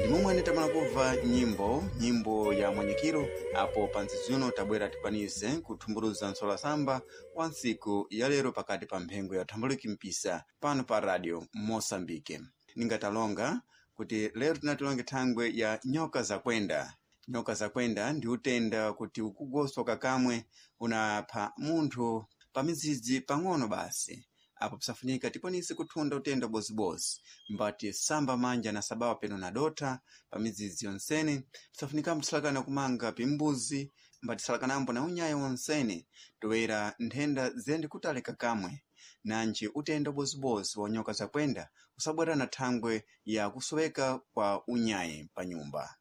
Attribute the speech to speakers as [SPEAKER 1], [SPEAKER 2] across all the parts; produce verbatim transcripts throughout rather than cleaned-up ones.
[SPEAKER 1] Ndimomwe tamala kubva nyimbo nyimbo ya mwanyikiro apo panzizuno tabwera tikwanize kuthumbuluza nsolasamba wa ntsiku ya lero pakati pa mphengo ya thambuliki mpisa pano pa radio Moçambique. Ningatalonga kuti lero tinatilonge thangwe ya nyoka zakwenda. Nyoka zakwenda ndi utenda kuti ukugoswa kakamwe unapha munthu pa mizidzi pang'ono basi. Apo pisafunika tikwanise kuthunda utenda bozibozi mbati samba manja na sabawa peno na dotha pa midzidzi yonsene. Pisafunikambo tisalakana kumanga pimbuzi mbati salakanambo na unyayo wonsene toera nthenda ziyende kutalika kamwe. Nanji utenda ubozibozi wa nyoka zakwenda usabwera na thangwe ya kusoweka kwa unyayi pa nyumba.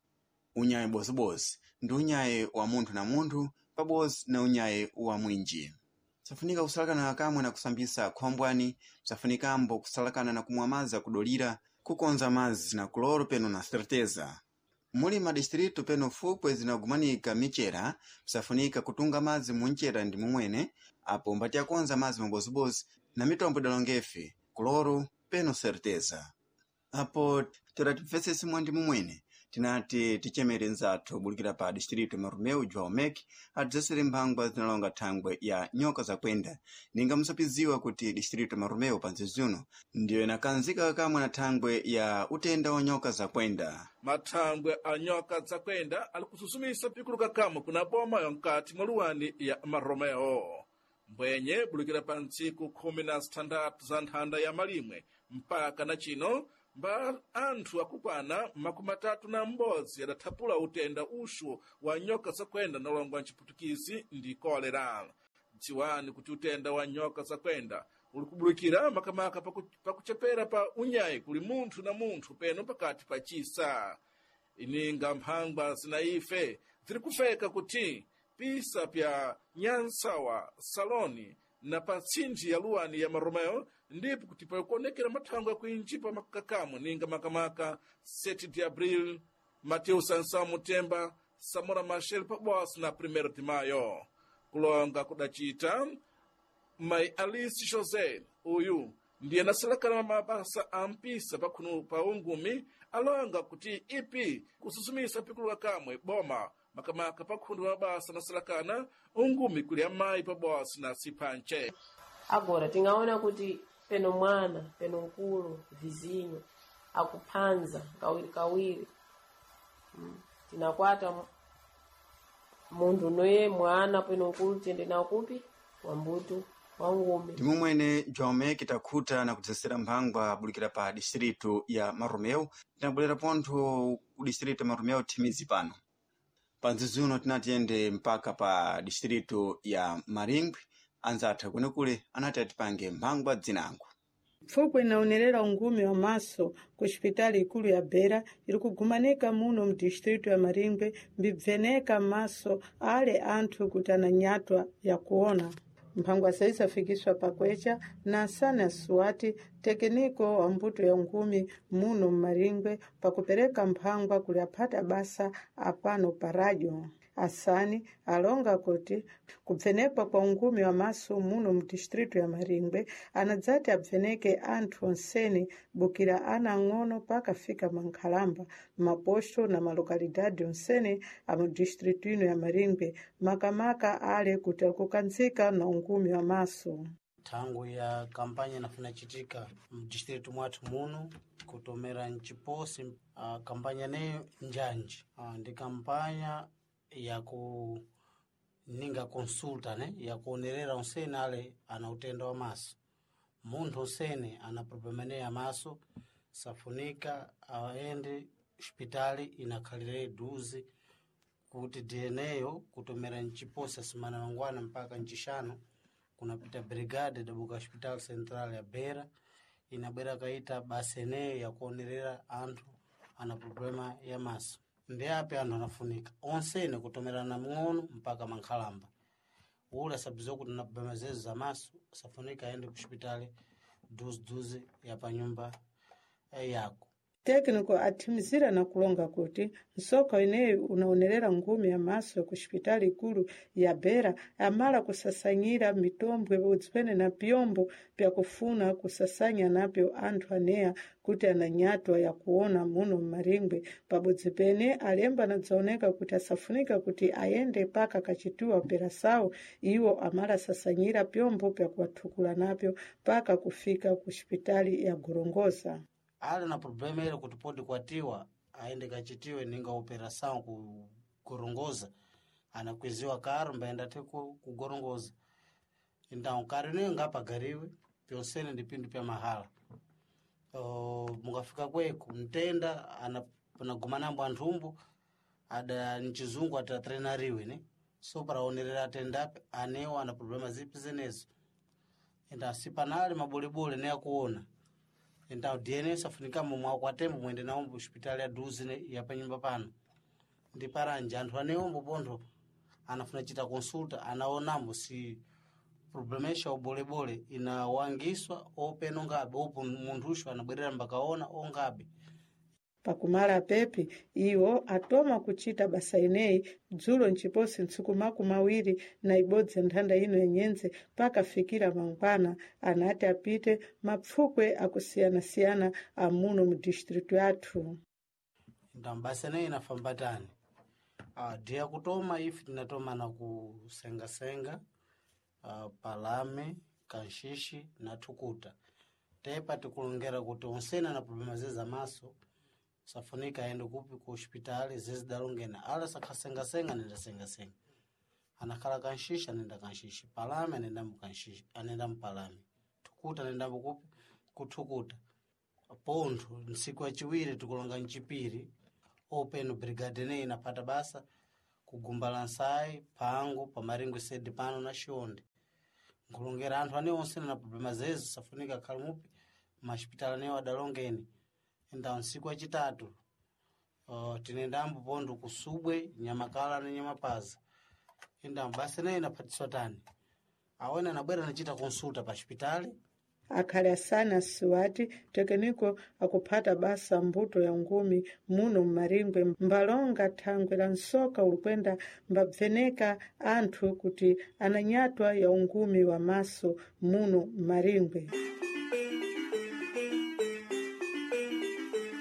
[SPEAKER 1] Unyayi bozibozi ndi unyayi wa munthu na munthu pabodzi na unyayi wa mwinji. Safunika kusalakana kamwe na kusambisa khombwani, safunikambo kusalakana na kumwa madzi akudolira, kukonza madzi na kuloro peno na certeza. Muli madistritu peno fukwe zinagumanika michera, safunika kutunga madzi munchera ndi mumwene, apo mbati akonza madzi mabozibozi na mitombo idalongefe, kuloro peno certeza. Apo tiratipfesese mwandi mumwene, tinati tichemere nzathu bulikira pa distrito ya Marumeu João Mek adzesere mphangwa zinalonga thangwe ya nyoka zakwenda. Ninga musapiziwa kuti distrito ya Marumeu panzizuno ndiyo inakanzika kamwe na thangwe ya utenda wa nyoka zakwenda.
[SPEAKER 2] Mathangwe a nyoka zakwenda ali kususumisa pikuluka kamwe kuna boma ya mkati mwa luwani ya Maromeo. Mbwenye bulukira pa ntsiku khumi na zitandatu za nthanda ya malimwe mpaka na chino mba anthu akukwana makumi atatu na m'bodzi adathapula utenda uxu wa nyoka zakwenda nalongwa mciputukizi ndi kolera. Dziwani kuti utenda wa nyoka zakwenda uli kubulukira makamaka paku- pakuchepera pa unyayi kuli munthu na munthu peno pakati pa chisa. Ininga mphangwa zina ife ziri kufeka kuti pisa pya nyansawa saloni na pa tsindji ya luwani ya Maromeo ndipo kuti pakuonekera mathangwe akuinji pa makakamo ninga makamaka sete de Abril, Mateus Sansão Mutemba, Samora Machel pabodzi na primeiro de Maio. Kulonga kudacita Mai Alice José uyu ndiye anasalakana mabasa a mpisa pakhunu pa ungumi alonga kuti ipi kususumisa pikuluka kamwe boma makamaka pakhundu pa mabasa anasalakana ungumi kuli amayi pabodzi na siphanche.
[SPEAKER 3] Agora tingaona kuti peno mwana peno mkulu vizinho akuphanza kawiri kawiri. Mm. Tinakwata mu- munthu noye mwana peno mkulu tiyende nawo kupi wambuto wangume.
[SPEAKER 1] Ndimumwene João Mek takhuta na kudzesera mphangwa bulikira pa distrito ya Marumeu tinabwerera pontho ku distrito ya Marumeu thimizi pano. Panzizuno tinatiyende mpaka pa distrito ya Maringwe anzathu kwenekule anati atipange mphangwa dzinango.
[SPEAKER 4] Pfupwi inaonerera ungumi wa maso ku xipitali ikulu ya Beira iri kugumanika muno mu distrito ya Maringwe mbibveneka maso ale anthu kuti ananyatwa ya kuona. Mphangwa saisafikiswa pakwecha na asani asuwati tekiniko wa mbuto ya ungumi muno mmaringwe pakupereka mphangwa kuli aphata basa apano pa radio. Asani alonga kuti kubvenekwa kwa ungumi wa maso muno mu distrito ya Maringwe anadzati abveneke anthu onsene bukira ana ang'ono pakafika mankhalamba maposto na malokalidade onsene a mu distrito ino ya Maringwe makamaka ale kuti akukanzika na ungumi wa maso.
[SPEAKER 5] Thangu ya kampanya inafuna chitika mdistritu mwathu muno kutomera mchiposi. Uh, kampanya neyo njanji uh, ndi kampanya yaku ninga consulta ne yakuonerera onsene ale ana utenda wa maso. Munthu onsene ana problema neyo ya maso safunika aende hospitali inakhalire duzi kuti D N A kutomera mchiposi asimana mangwana mpaka mchishanu kunapita brigade dabuka hospital central ya Beira inabwera kaita basa eneyo yakuonerera anthu ana problema ya maso. Ndi api anthu anafunika onsene kutomerana mng'ono mpaka mankhalamba ule asabiziwa kuti na problema zezo za maso safunika aende ku hospitali duziduzi ya panyumba eh, yako.
[SPEAKER 4] Técnico athimizira na kulonga kuti nsoka ineyi unaonerera ngumi ya maso ku xipitali ikulu ya Beira amala kusasanyira mitombwe udzipene na pyombo pyakufuna kusasanya napyo anthu aneya kuti ananyatwa yakuona muno mmaringwe. Pabodzi pene alemba anadzaoneka kuti asafunika kuti ayende paka kachitiwa operasawu, iwo amala asasanyira pyombo pyakuwathukula napyo paka kufika ku xipitali ya Gorongosa.
[SPEAKER 5] Ali na problema ile kuti podi kwatiwa aende kachitiwe ninga operação ku Gorongosa, anakwiziwa karo mbaenda te ku, ku Gorongosa. Então karo ineyo ngapagariwe pyonsene ndi pindu pya mahala. Uh, mukafika kweko mtenda ana- anagumanambo anthumbu ada mchizungu atatrenariwe ne so paraonerera atendape anewo ana problema zipi zenezo. Então sipanali mabolebole ne akuona. Então D N S afunika momwe akwatembo mwende nawo mu hospitali ya duzi ne ya panyumba pano ndi paranje anthu anewombo pontho anafuna chita consulta anaonambo si problemesha ubolebole inawangiswa openo ngabe opo munthuxo anabwerera mbakaona ongabe.
[SPEAKER 4] Pakumala pepi iwo atoma kuchita basa ineyi dzulo nciposi ntsiku makumi awiri na ibodzi nthanda ino yenyenze pakafikira mangwana anati apite mapfukwe akusiyana-siyana amuno mu distritu yathu.
[SPEAKER 5] Então basa ineyi inafamba tani. Uh, dia kutoma ife tinatoma na kusengasenga, uh, palame kanshishi na thukuta tepa tikulongera kuti onsena na problema zeze maso safunika aende kupi ku hospitali zezidalongena ala sakhasengasenga anenda sengasenga, anakhala kanshishi anenda kanshishi, palame anenda mukanshishi anenda mpalame, thukuta anenda kupi kuthukuta. Pontho ntsiku yaciwiri tikulonga mcipiri openo brigade ineyi inapata basa kugumba la nsayi phango pamaringwe sede pano na xionde nkulongera anthu ane onse na problema zezo safunika akhale mupi maxipitali anewo adalongeni. Então ntsiku yacitatu uh, tinendambo pontho kusubwe nyamakala na nyamapaza. Então basa ineyi inaphatiswa tani awene anabwera anachita consulta pa xipitali.
[SPEAKER 4] Akhali asana asiwati tekeniko akuphata basa mbuto ya ngumi muno mmaringwe mbalonga thangwe la nsoka ulikwenda mbabveneka anthu kuti ananyatwa ya ungumi wa maso muno mmaringwe.